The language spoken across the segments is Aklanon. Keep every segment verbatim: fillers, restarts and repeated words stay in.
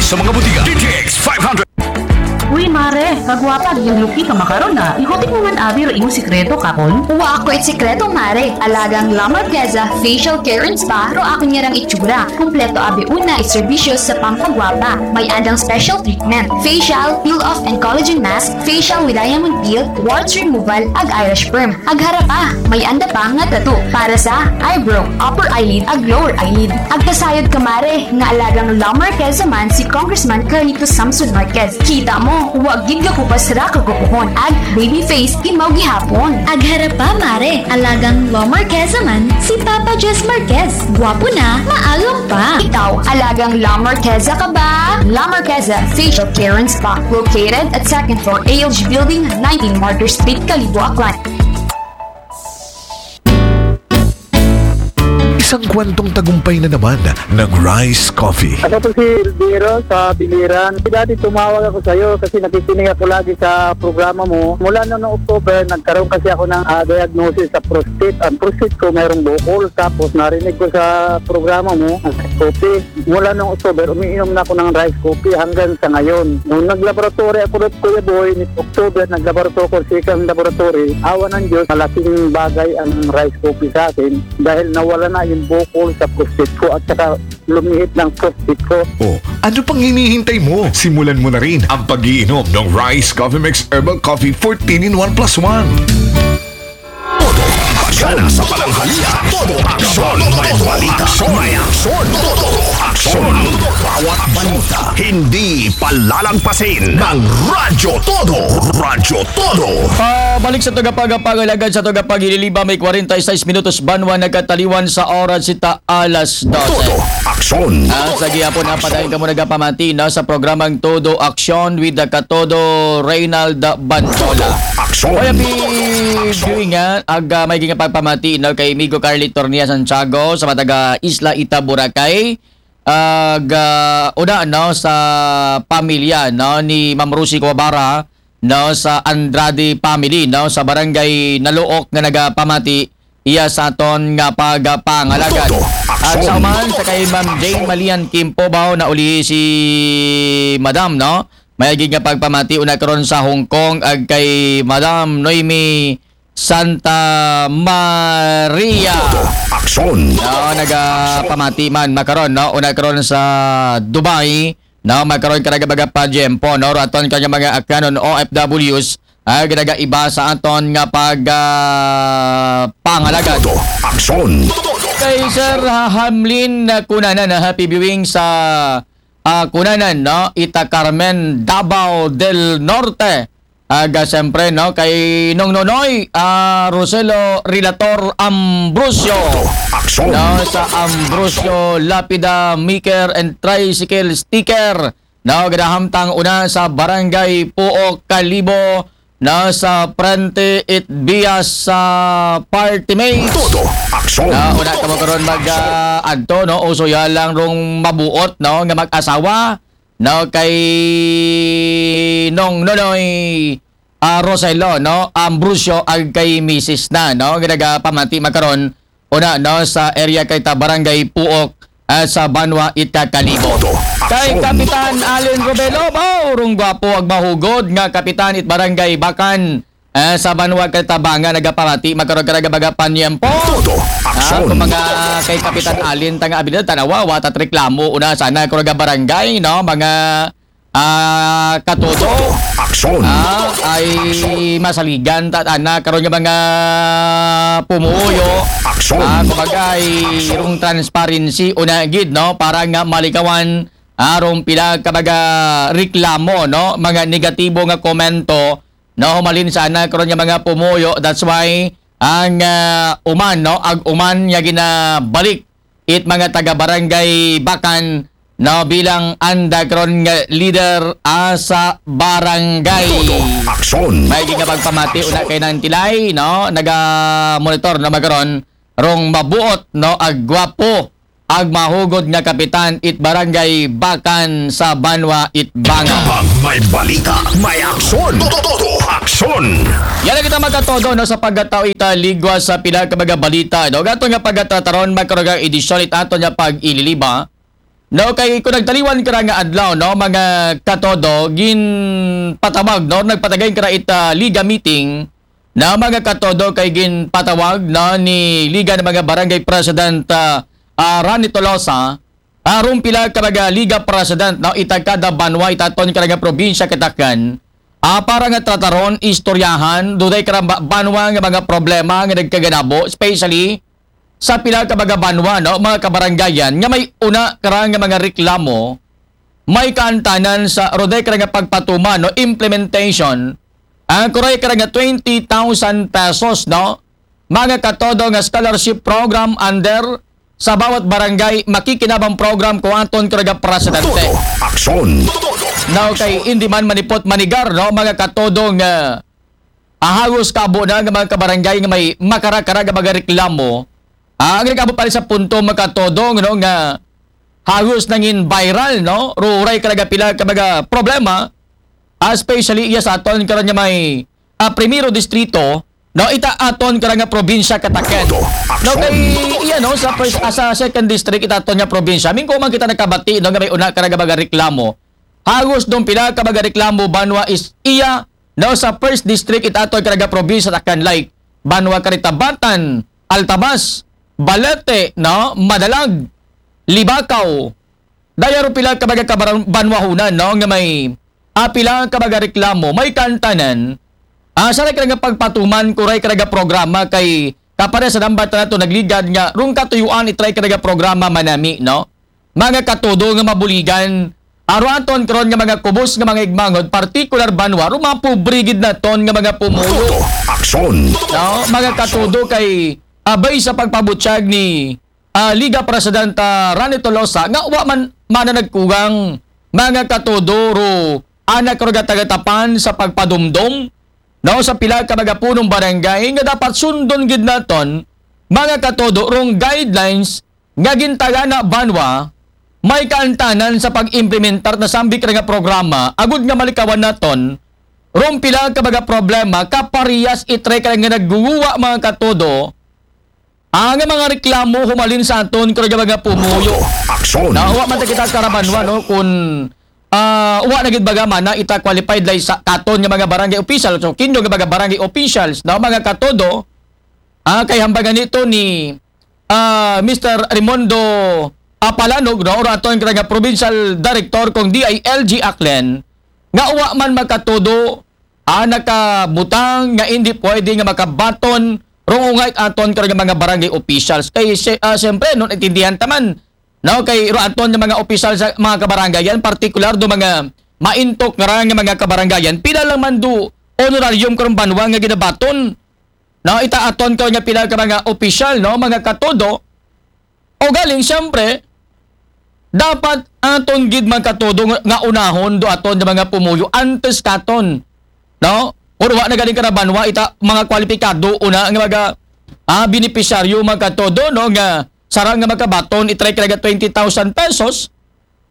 Sa mga butika, D T X five hundred. Uy, mare, kagwapa, yung lupi ka makaron na. Ikutik mo man abi ro imong sikreto, kakon? Wa ko it sikreto, mare. Alagang La Marqueza Facial Care and Spa ro akon ngarang itsura. Kumpleto abi una it serbisyo sa pampagwapa. May andang special treatment. Facial, peel off and collagen mask, facial with diamond peel, warts removal, ag eyelash perm. Ag harapa, may anda pa nga tattoo para sa eyebrow, upper eyelid, ag lower eyelid. Ag kasayod ka, mare, nga alagang La Marqueza man si Congressman Carlito Samson Marquez. Kita mo, wa gid ka kupas ra kagupuhon. Ag baby face, imaw gihapon. Ag harapa, mare, alagang La Marqueza man si Papa Jess Marquez. Gwapo na, maalam pa. Ikaw, alagang La Marqueza ka ba? La Marqueza Facial Care and Spa, located at second floor A L G Building, nineteen Martyr Street, Kalibo, Aklan. Isang kwentong tagumpay na naman ng Rice Coffee. Ako po si Elviro sa Biliran. Dati tumawag ako sa iyo kasi nakikinig ako lagi sa programa mo. Mula noong October, nagkaroon kasi ako ng ah, diagnosis sa prostate. Ang prostate ko mayroong bukol. Tapos narinig ko sa programa mo, ang Rice Coffee. Mula noong October, umiinom na ako ng Rice Coffee hanggang sa ngayon. Nung naglaboratory ako doon, Kuya Boy, ni October, naglaboratory ako sa second laboratory. Awa ng Diyos, malaking bagay ang Rice Coffee sa akin dahil nawala na yung bukol sa prostate ko at saka lumihit ng prostate ko. O, ano pang hinihintay mo? Simulan mo na rin ang pag-iinom ng Rice Coffee Mix Herbal Coffee fourteen in one plus one. Aksyon sa pananghalian. Todo aksyon. May balita. May aksyon. Todo aksyon. Bawat balita. Hindi palalagpasin ng Radyo Todo. Radyo Todo. Pabalik sa tagapagapag, alagad sa tagapagililiba, may kwarenta y seis minutos banwa nagkataliwan sa oras sita alas dose. Todo aksyon. Ah, sa gihapon na padayon kamo nagapamati na sa programang Todo Aksyon with the Katodo Reynald Bantola. Aksyon. Kaya pi viewing nga, ag ah, may gingapagpamati na kay Migo Carly Tornia Santiago sa mataga Isla Ita, Boracay. Ag ah, una no sa pamilya no ni Ma'am Rosie Kuwabara no sa Andrade family no sa barangay Naluok nga nagapamati iya sa aton nga pagpangalagad. Todo At aksyon. Sa uman sa kay Ma'am Jane Malian Kimpo bao na uli si Madam no. May agig nga pagpamati una karon sa Hong Kong ag kay Madam Noemi Santa Maria. Aksyon. No, nagapamati man makaron no, una karon sa Dubai no, makaron ka nagabaga pa Jempo no, raton ka nga mga akyanon O F Ws ag nagaiba sa aton nga pag ah, pangalagad. Todo aksyon. Kay Sir Hamlin na Kunanan na happy viewing sa ah, Kunanan no, Ita Carmen, Davao del Norte. Aga siyempre no kay Nong Nonoy ah, Roselo Rilator Ambrosio. Aksyon. No, sa Ambrosio Lapida Maker and Tricycle Sticker. No, gadahamtang una sa Barangay Puok, Kalibo. No, sa Prente Itbias sa Party Mates. Todo aksyon. No, una ka mo karon mag ah, adto no, uso ya lang rong mabuot no nga mag-asawa no kay Nong Nonoy ah, Roselo no, Ambrosio ag kay misis na no, nga nagapamati makaron una no sa area kay ta Barangay Puok ah, sa Banwa Ita Kalibo. Todo Kay aksyon. Kapitan Allen Robelo, bao rong gwapo ag mahugod nga kapitan it Barangay Bakan ah, sa Banwa kay Tabanga nagapamati makaron ka nagabaga panyempo. Todo Ah, aksyon. kung mga kay Kapitan Allen tanga abilidad tanawa watat reklamo una sana kung barangay no, mga ah, katodo. Aksyon. Ah, ay masaligan ta ana karon nga mga pumuyo. Aksyon. Ah, kumbaga ay rong transparency una gid no, para nga malikawan ah, rong pila ka mga reklamo no, mga negatibo nga komento no, humalin sana karon nga mga pumuyo. That's why ang ah, uman no, ag uman nga ginabalik it mga taga Barangay Bakan no, bilang anda karon nga leader ah, sa barangay. Todo aksyon. May nga pagpamati una kay Nang Tilay no, naga monitor no makaron rong mabuot no, ag gwapo ag mahugod nga kapitan it Barangay Bakan sa Banwa it Banga. Pag may balita, may aksyon. Todo, todo aksyon. Yan lang kita magkatodo no, sa pagkatao ita ligwa sa pila ka mga balita no. Gato nga pagkatataron makaroga edisyon it ato nga pag-ililiba. No, kay kung nagtaliwan ka ra nga adlaw, no, mga katodo, ginpatawag, no, nagpatagay ka ra ita liga meeting, na mga katodo, kay ginpatawag, no, ni Liga ng mga Barangay President, ah, ah, Rani Tolosa, aron pila ka mga Liga President, no, ita kada banwa, ita aton ka nga probinsya katakan, ah, para nga trataron, istoryahan, duday ka ra ba-, banwa nga mga problema nga nagkaganabo, especially sa pila ka mga banwa, no, mga kabarangayan, nga may una ka ra nga mga reklamo, may kaantanan sa roday ka ra nga pagpatuman, no, implementation, ang kuray ka ra nga twenty thousand pesos, no, mga katodo nga scholarship program under sa bawat barangay makikinabang program ko aton ka ra nga presidente. Todo aksyon. Now, kay hindi man manipot manigar, no, mga katodo nga ahagos kabo na nga mga kabarangay nga may makara-kara nga mga reklamo. Ah, ang nag-abot pa rin sa punto, mga katodo, no, nga hagos nangin viral, no? Ruray ka nga pila ka mga problema, ah, especially iya sa aton karon nga may, ah, primero distrito, no? Ita aton karon nga probinsya kataken. Todo No, aksyon. Kay iya, no, sa first, ah, sa second district, ita aton nga probinsya. Mingko man kita nakabati, no, nga may una ka nga mga reklamo. Hagos dong pila ka mga reklamo banwa is iya, no, sa first district ita aton ka nga probinsya taken, like banwa Karitabatan, Altabas, Balete, no, Madalag, Libacao. Daya ro pila ka mga kabaran-, banwahunan, no, nga may, ah, pila ka mga reklamo, may kaantanan, ah, sa ray ka nga pagpatuman, kuray ka nga programa kay kapare sa dambat nato nagligad nga rong katuyuan itry ka nga programa manami, no? Mga katodo nga mabuligan, aro aton karon nga mga kubos nga mga igmangod, partikular banwa, ro mga pobre gid naton nga mga pumuyo. Todo aksyon. No, mga katodo, kay abay sa pagpabutyag ni, ah, Liga Presidenta Rani Tolosa nga wa man mana nagkugang, mga katodo, ro anak ro gatagatapan sa pagpadumdom, no, sa pila ka mga punong barangay nga dapat sundon gid naton, mga katodo, rong guidelines nga gintagana banwa, may kaantanan sa pag-implementar na sambik ra nga programa, agud nga malikawan naton, rong pila ka mga problema, kaparehas itry ka nga nagguguwa, mga katodo, ang mga reklamo humalin sa aton ka nga mga pumuyo. Todo aksyon. Na wa man ta kita karabanwa, no, kung, ah, wa na gid baga mana ita qualified lay sa katon nga mga barangay official, so kinyo nga mga barangay officials, no, mga katodo, ah, kay hambagan nito ni, ah, Mister Raimundo Apalanog, no, ura aton ka nga provincial director kung D I L G Aklan, nga wa man makatudo, ah, nakabutang nga hindi pwede nga makabaton rong ungay aton ka nga mga barangay officials. Kay si-, ah, siyempre, no, naintindihan taman, no, kay ro aton nga mga opisyal sa mga kabarangayan, partikular do mga maintok nga ra nga mga kabarangayan, pila lang man do honorarium karong banwa nga ginabaton, no, ita aton ka nga pila ka mga opisyal, no, mga katodo, o galing, siyempre, dapat aton gid mga katodo nga, nga unahon do aton nga mga pumuyo antes katon, no? Kung wa na galing ka na banwa, ita mga kwalipikado una nga mga, ah, benepisyaryo, mga katodo, no, nga sarang nga makabaton, itry ka nga twenty thousand pesos,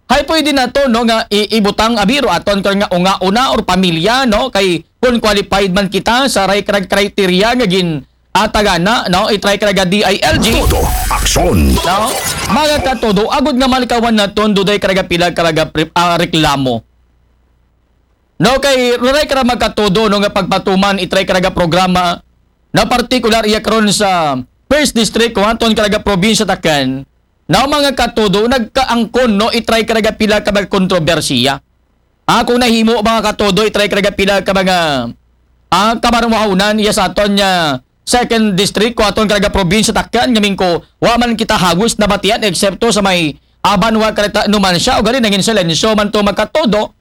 hay pwede na to, no, nga i-, ibutang abiro aton ka nga unga-una or pamilya, no, kay kung qualified man kita sa ray-, kra-, criteria nga gin atagana, no, itry ka nga D I L G. Todo aksyon. No? Mga katodo, agud nga malikawan naton, duday ka nga pila ka nga pri-, ah, reklamo. No, kay ruray ka mga katodo, no, nga pagpatuman, itry ka nga programa, na partikular iya karon sa first district, kung aton ka nga probinsya taken, na mga katodo, nagkaangkon, no, itry ka nga pila ka mga kontrobersiya. Ah, kung nahimo, mga katodo, itry ka nga pila ka mga, ah, kamarumahawnan, iya sa aton nga second district, kung aton ka nga probinsya taken, nga mingko, wa man kita hagos nabatian, eksepto sa may, ah, banwa Karita Numancia, o gali nangin silensyo man to mga katodo,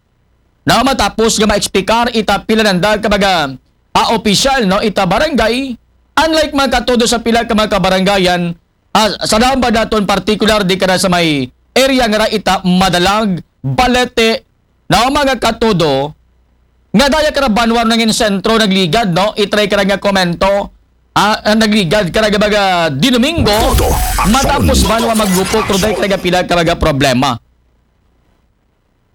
na matapos nga ma-explicar ita pila nanda ka mga, ah, opisyal, no, ita barangay, unlike mga katodo sa pila ka mga kabarangayan, ah, sa daon ba naton partikular di ka na sa may area nga ra ita Madalag, Balete, na mga katodo, nga daya ka ra banwa nangin sentro nagligad, no? Itry ka ra nga komento, ah, ah, nagligad ka ra nga mga Dinomingo, Todo aksyon. Matapos banwa maggupok, ruday ka ra nga pila ka mga problema.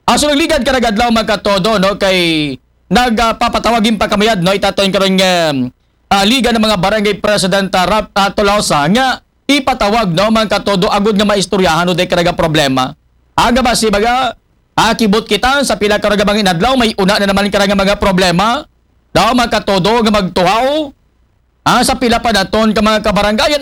Aso nagligad ka na adlaw mga katodo, no, kay nagpapatawagin pa kamayad, no, itaton karon nga, ah, Liga ng mga Barangay President, ah, Rap-, ah, Tolosa nga ipatawag, no, mga katodo, agud nga maistoryahan o day ka nga problema. Aga ba si baga, akibot kita sa pila ka mga inadlaw, may una na naman ka nga mga problema. Daw makatudo nga magtuhaw. Ah, sa pila pa naton ka mga kabarangay,